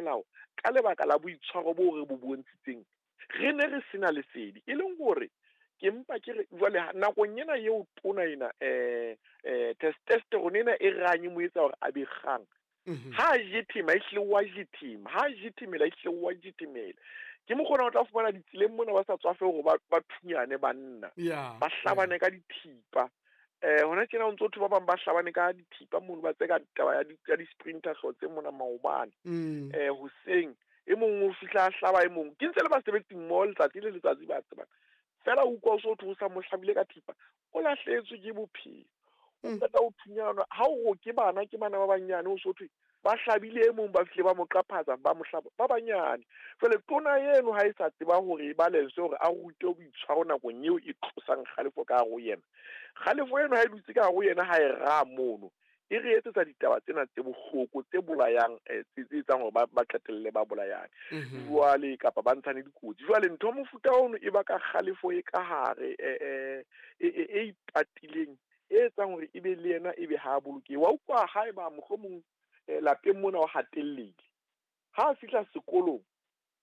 melao ka lebaka la boitshwaro bo re bo bontshitseng. Re ne re sena lesedi, e leng hore ke mpa ke re jwale nakong ena eo tona ena testosterone ena e ranye mo etsa hore a be kgang. Ha a jethema, ehlile wa jethema. Ha a jethemela, ehlile wa jethemela. Ke mokgona o tla fumana ditseleng mona ba sa tswafe hore ba thunyane banna. Ba hlabane ka dithipa. Hona tjena o ntso thwe ba bang ba hlabane ka dithipa mono, ba tseka taba ya di-sprinter hlotse mona maobane. Hoseng e mong o fihla a hlaba e mong. Ke ntse le basebetsi mmoho letsatsi le letsatsi ba tsebang. Fela o utlwa o so thwe o sa mo hlabile ka thipa, o lahlehetswe ke bophelo. O qeta ho thunyana, ha o ke bana, ke bana ba banyane, o so thwe ba hlabile e mong, ba fihle ba mo qaphatsa, ba mo hlaba, ba banyane. Jwale tona eno ha e sa tseba hore e balance hore a rute boitshwaro nakong eo e tlosang kgalefo ka hare ho yena. Kgalefo eno ha e dutse ka hare ho yena, ha e raha mono, e re etsetsa ditaba tsena tse bohloko, tse bolayang, tse etsang hore ba qetelle ba bolayane. Jwale kapa ba ntshane dikotsi. Jwale ntho mofuta ono e baka kgalefo e ka hare, e ipatileng, e etsang hore ebe le yena ebe ha a bolokehe. Wa utlwa haeba mohlomong lapeng mona o hatellehile, ha a fihla sekolong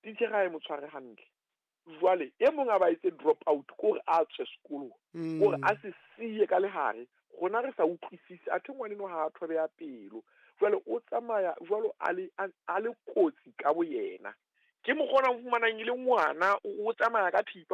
titjhere ha e mo tshware hantle. Jwale e mong a ba etse drop out, ke hore a tswe sekolong, hore a se siye ka lehare. Rona re sa utlwisise, athe ngwaneno ha a thobeha pelo. Jwale o tsamaya jwalo a le kotsi ka boyena. Ke mokgwa ona o fumanang e le ngwana, o tsamaya ka thipa.